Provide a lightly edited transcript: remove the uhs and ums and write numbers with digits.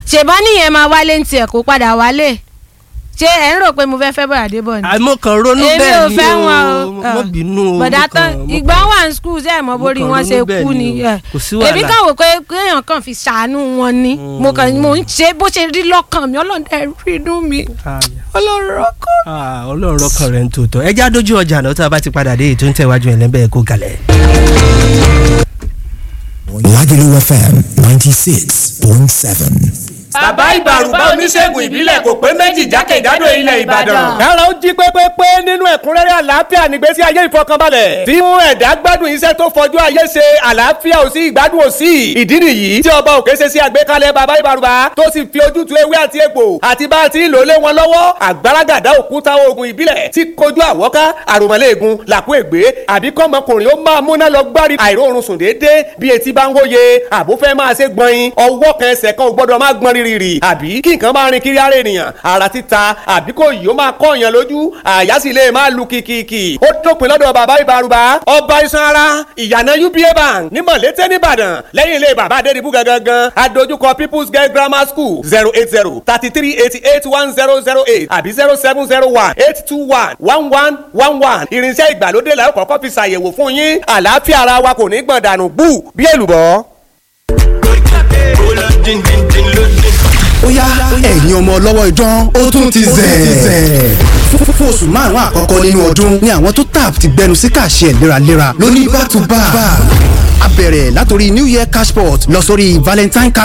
Ṣèbọn nìyẹn máa wálé ní tiẹ̀, kó padà wálé. Ṣé ẹ̀ ń rò pé mo fẹ́ fẹ́ bọ̀dà Débọ̀ ni? Àmọ́ kan ronú Èmi bẹ́ẹ̀ ò ni fẹ́ o. wọn o. Mo bínú o. Bọ̀dá mo tán kàn- mo ìgbà kàn- wà ní school, ṣe é mọ borí mo wọn kàn ṣe ronú bẹ́ẹ̀ kú ni ni. o. Kò sí wàhálà. Èmi kàn wò pé kéèyàn kàn fi ṣàánú wọn ni. Mo kàn mo ń ṣe bó ṣe rí lọ́kàn mi. Ọlọ́run dẹ̀ rí inú mi. Ah, yeah. Ọlọ́run ọkọ. Ah, Ọlọ́run ọkàn rẹ̀ ń tòótọ́. Ẹ já dójú ọjà náà, tá a bá ti padà dé, ètò ń tẹ̀wájú ẹ̀ lẹ́bẹ̀ẹ́ kó kalẹ̀. Lagelu FM 96.7. Bàbá Ìbàrùbá, oníṣègùn ìbílẹ̀ kò pé méjì jákèjádò ilẹ̀ Ìbàdàn. Kára ó jí pépépé nínú ẹ̀kúnrẹ́rẹ́ àlàáfíà nígbésí ayé ìfọkànbalẹ̀, tí mú ẹ̀dá gbádùn iṣẹ́ tó fojú ayé ṣe. Àlàáfíà ò sí, ìgbádùn ò sí. Ìdí nìyí tí ọba òkè ṣe sí àgbékalẹ̀ bàbá Ìbàrùbá, tó sì fi ojútùú ewé àti egbò àti bá a ti ń lò lé wọn lọ́wọ́. Àgbàràgàdá òkúta oògùn ìbílẹ̀ tí kojú àwọ́ká, àròmọ́lẹ́ẹ̀gùn, làkú ègbé, àbí kọ́mọkùnrin ó máa múná lọ gbárí àìróorun sùn déédéé bí etí bá ń wóye, àbó fẹ́ máa ṣe gbọ̀nyin, ọwọ́ kan ẹsẹ̀ kan ò gbọ́dọ̀ máa gbọ́n rírì, àbí kí nǹkan máa rin kiri ara ènìyàn, ara títa, àbí kò yìí ó máa kọ́ èèyàn lójú, àyà sì lè máa lu kìkìkì. Ó dópin lọ́dọ̀ bàbá Ìbàrùbá, ọba iṣan ara, ìyànà UBA Bank ní Mọ̀lété nìbàdàn, lẹ́yìn ilé bàbá Adédìbú gangan, adójúkọ People's Girl Grammar School. 08033881008 àbí 07018211111. Irinṣẹ́ ìgbàlódé la ó kọ́kọ́ fi ṣàyẹ̀wò fún yín. Àlàáfíà ara wa kò ní gbọ̀n dànù gbù bí èlùbọ́. Ó yá ẹ̀yin ọmọ ọlọ́wọ́ idán, ó tún ti zẹ̀. Fún oṣù 5 àkọ́kọ́ nínú ọdún ni àwọn tó tap ti gbẹnu sí kàṣẹ léraléra lóní back to back. A bẹ̀rẹ̀ látòrí New Year Cashport lọ sórí Valentine cash.